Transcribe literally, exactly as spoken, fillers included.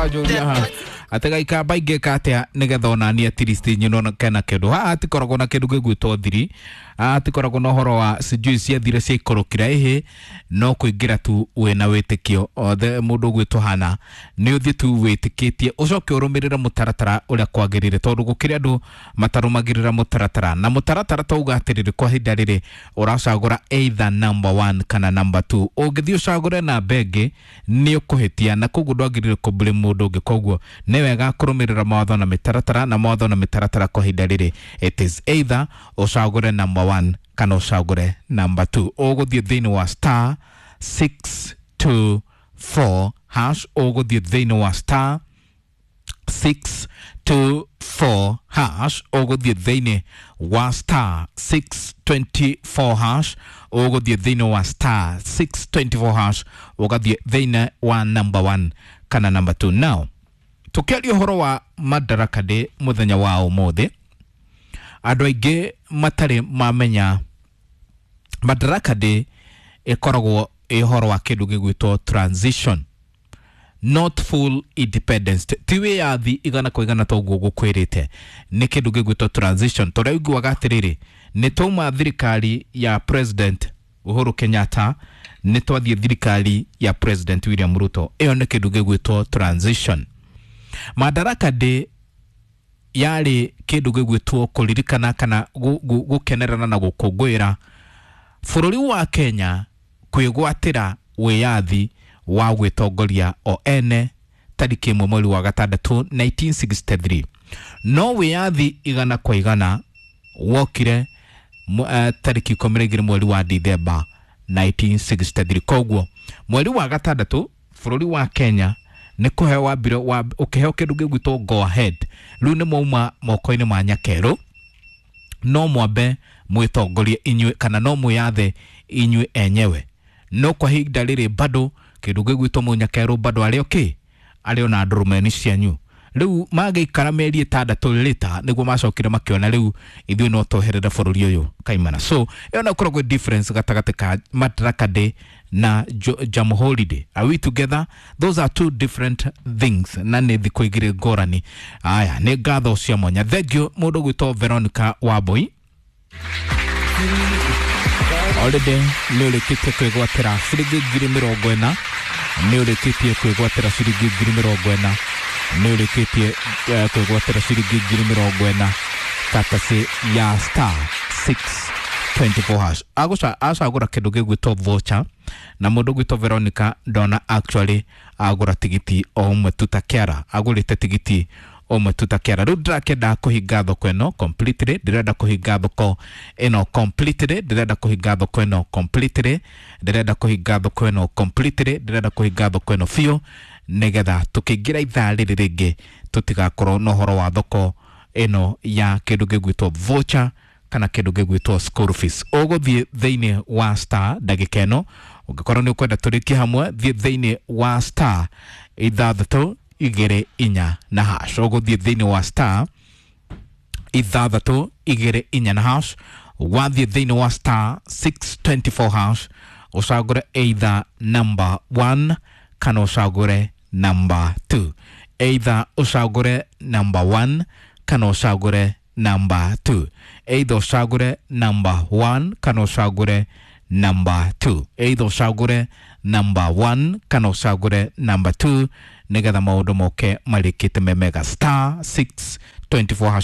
Anjũria haha atĩ gaikamba ingĩka atĩa nĩgetha onani at least nyino kena kĩndũ. Haha hatikoragwo na kĩndũ gĩgwĩtwo thiri, haha hatikoragwo na ũhoro wa sijui ciathire ciaikorokire ĩhĩ, no kũingĩra tu wĩna wĩtĩkio othe. Mũndũ ũgwĩtwo hana nĩ ũthiĩ tu wĩtĩkĩtie, ũcoke ũrũmĩrĩre mũtaratara ũrĩa kwagĩrĩire, tondũ gũkĩrĩ andũ matarũmagĩrĩra mũtaratara. Na mũtaratara tauga atĩrĩrĩ, kwa ihinda rĩrĩ ũracagũra either number one kana number two. Ũngĩthiĩ ũcagũre namba ĩngĩ nĩ ũkũhĩtia, na koguo ndwagĩrĩire kũblame mũndũ ũngĩ. Koguo nĩ wega kũrũmĩrĩra mawatho na mĩtaratara, na mawatho na mĩtaratara kwa ihinda rĩrĩ it is either ũcagũre number one kana ũcagũre number two. Ũgũthiĩ thĩinĩ wa star six two four hash, ũgũthiĩ thĩinĩ wa star six two four hash, ũgũthiĩ thĩinĩ wa star six twenty four hash, ũgũthiĩ thĩinĩ wa star six twenty four hash, ũgathiĩ thĩinĩ wa number one kana number two. Now tũkĩaria ũhoro wa Madaraka Day mũthenya wa ũmũthĩ, andũ aingĩ matarĩ mamenya Madaraka Day ĩkoragwo ĩ ũhoro wa kĩndũ gĩgwĩtwo transition, not full independence. Ti wĩyathi igana kwa igana toguo gũkwĩrĩte, nĩ kĩndũ gĩgwĩtwo transition. Tũrĩa ũiguaga atĩrĩrĩ, nĩ twauma thirikari ya President Uhuru Kenyatta, nĩ twathiĩ thirikari ya President William Ruto. Ĩyo nĩ kĩndũ gĩgwĩtwo transition. Madaraka Day yarĩ kĩndũ gĩgwĩtwo kũririkana kana gũkenerana na gũkũngũĩra bũrũri wa Kenya kwĩgwatĩra wĩyathi wa gwĩtongoria o ene tarĩki ĩmwe mweri wa gatandatũ nineteen sixty three. No wĩyathi igana kwa igana wokire uh, tarĩki ikũmi na igĩrĩ mweri wa Dithemba nineteen sixty three. Koguo mweri wa gatandatũ bũrũri wa Kenya nĩ kũheo wambire wa, ũkĩheo kĩndũ gĩgwĩtwo go ahead. Rĩu nĩ mwauma moko-inĩ ma nyakerũ, no mwambe mwĩtongorie inyuĩ kana no mwĩyathe inyuĩ enyewe. No kwa ihinda rĩrĩ bado kĩndũ gĩgwĩtwo mũnyakerũ bado arĩ okay, arĩ ona ndũrũmeni cianyu. Rĩu magĩikara mĩeri ĩtandatũ later nĩguo macokire makĩona rĩu ithuĩ no tweherere bũrũri ũyũ kaimana. So ĩyo no ĩkoragwo difference gatagatĩ ka Madaraka Day na Jamhuri Day. Are we together? Those are two different things na nĩ thikũ igĩrĩ ngũrani. Aya nĩ ngatho cia mwanya. Thank you mũndũ ũgwĩtwo Veronica Wambui. Already nĩ ũrĩkĩtie kwĩgwatĩra ciringi ngiri mĩrongo ĩna, nĩ ũrĩkĩtie kwĩgwatĩra ciringi ngiri mĩrongo ĩna, nĩ ũrĩkĩtie kwĩgwatĩra ciringi ngiri mĩrongo ĩna katasi ya star six twenty four hash. Agũca acagũra kĩndũ gĩgwĩtwo voucher, na mũndũ ũgwĩtwo Veronica ndona actually agũra tigiti o ũmwe tu ta kĩara, agũrĩte tigiti ũmwe tu ta kĩara. Rĩu ndĩrakĩenda kũhinga thoko ĩno completely, ndĩrenda kũhinga thoko ĩno completely, ndĩrenda kũhinga thoko ĩno completely, ndĩrenda kũhinga thoko ĩno completely, ndĩrenda kũhinga thoko ĩno biũ, nĩgetha tũkĩingĩra ithaa rĩrĩ rĩngĩ tũtigakorwo na ũhoro wa thoko ĩno ya kĩndũ gĩgwĩtwo voucher kana kĩndũ gĩgwĩtwo school fees. Ũgũthiĩ thĩinĩ wa star ndagĩka ĩno, ũngĩkorwo nĩ ũkwenda tũrĩkie hamwe, thiĩ thĩinĩ wa star ithathatũ igĩrĩ inya na hash. Ũgũthiĩ thĩinĩ wa star ithathatũ igĩrĩ inya na hash, wathiĩ thĩinĩ wa star six twenty four hash, ũcagũre either number one kana ũcagũre number two. Either ũcagũre number one kana ũcagũre number two. Either ũcagũre number one kana ũcagũre number two. Either ũcagũre number one kana ũcagũre number two, nĩgetha maũndũ moke marĩkĩte me mega. Star six twenty four hash.